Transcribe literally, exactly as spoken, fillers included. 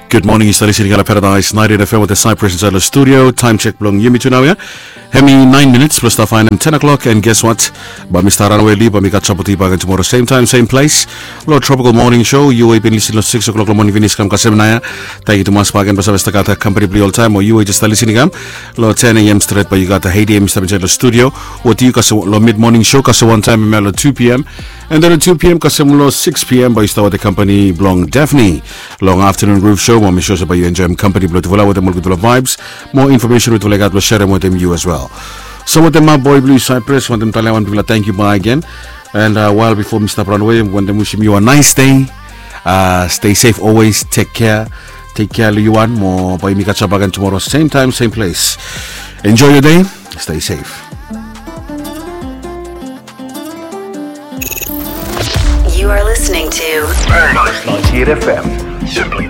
Gud moning, yu stap lisin long Paradise ninety-eight F M wetem Cyprus insaed long studio. Taem sek blong yumi tu nao ya, hemi naen minits blong stap faenem ten o'clock. And guess what? Bae mi stap ranwe lif, bae mi katap wetem yu bakegen tumora sem taem, sem ples. Long Tropical Morning Show, yu we yu bin lisin long six o'clock long moning finis kam kasem nao ya. Tangkiu tumas bakegen blong save stap gat kompani blong yu oltaem, o yu we yu jes stap lisin i kam long ten a.m. stret, bae yu gat a Haiti em i stap insaed long studio wetem yu kasem long mid morning show, kasem wantaem hemia long two p.m. And then long two p.m. kasem long six p.m. bae yu stap wetem kompani blong Daphne long afternoon groove show, mo mi sua se bae yu enjoem kompani blong tufala wetem ol gudfala vibes mo infomesen we tufala i gat blong serem wetem yu as well. So wetem maboe blong yu Cyprus, wantem talem wan bigfala tangkiu bakegen. And uh, well, bifo mi stap ranwe, wantem wisim yu wan nice day. Uh, stay safe always, take care. Take care long yu wan, mo bae yumi katap bakegen tumora sem taem, sem ples. Enjoy your day. Stay safe. You are listening to Paradise ninety-eight F M. Simply